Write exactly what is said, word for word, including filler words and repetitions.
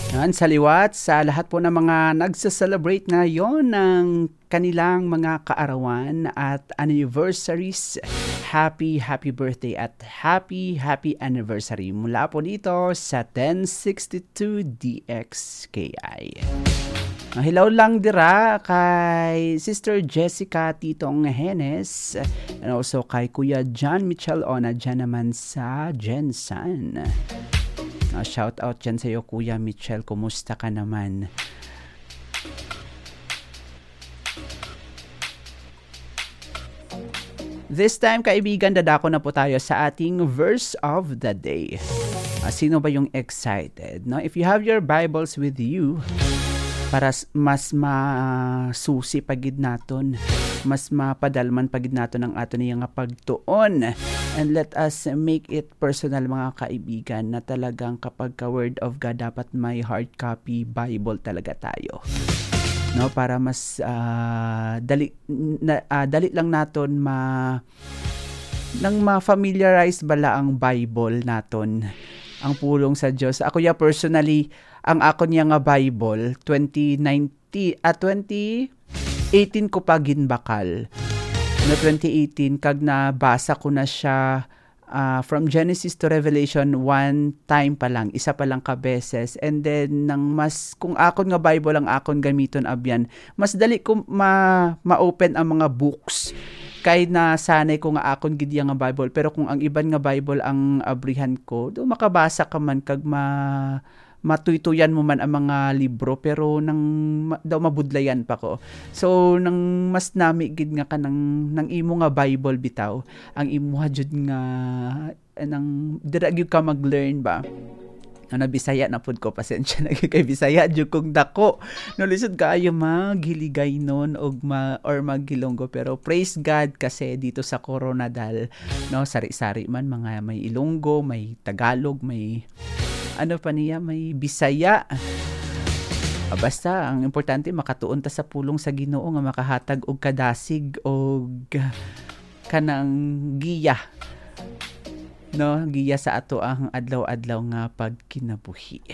Yan, sa liwat, sa lahat po ng mga nagsa-celebrate ngayon ng kanilang mga kaarawan at anniversaries, happy, happy birthday at happy, happy anniversary mula po dito sa ten sixty-two D X K I. Ah, hello lang dira kay Sister Jessica Titong Henes and also kay Kuya John Michel Ona dyan naman sa Gensan. Ah, shout out dyan sa'yo, Kuya Michel. Kumusta ka naman? This time, kaibigan, dadako na po tayo sa ating verse of the day. Ah, sino ba yung excited? No? If you have your Bibles with you, para s- mas masusi pa gid naton, mas mapadalman pa gid naton ang aton nga pagtuon. And let us make it personal, mga kaibigan, na talagang kapag ka Word of God, dapat may hard copy Bible talaga tayo. No, para mas ah, dali na, ah, dali lang naton ma nang ma-familiarize bala ang Bible naton, ang pulong sa Dios. Ako ya personally, ang akon ya nga Bible, twenty nineteen, ah, twenty eighteen ko pa ginbakal. No, twenty eighteen, kag nabasa ko na siya, ah, from Genesis to Revelation, one time pa lang, isa pa lang ka beses. And then, nang mas, kung akon nga Bible ang akon gamiton, abyan, mas dali ko ma-, ma-open ang mga books. Kay nasanay ko nga akon gid ya nga Bible, pero kung ang iban nga Bible ang abrihan ko, do makabasa ka man kag ma-, matuytuyan mo man ang mga libro, pero nang ma-, daw mabudlayan pa ko. So, nang mas nami gid nga kanang, nang imo nga Bible bitaw, ang imuha jud nga, nang dira gyud ka mag-learn ba? Ano, Bisaya na pud ko, pasensya na gyud kay Bisaya jud kong dako. No, lisod kaayo mag Hiligaynon og ma-, or mag Hilonggo, pero praise God kasi dito sa Coronadal, no, sari-sari man, mga may Ilonggo, may Tagalog, may ano pa niya, may Bisaya. Ah, basta, ang importante, makatuon ta sa pulong sa Ginoo nga makahatag og kadasig og kanang giya, no? Giya sa ato ang adlaw-adlaw nga pagkinabuhi.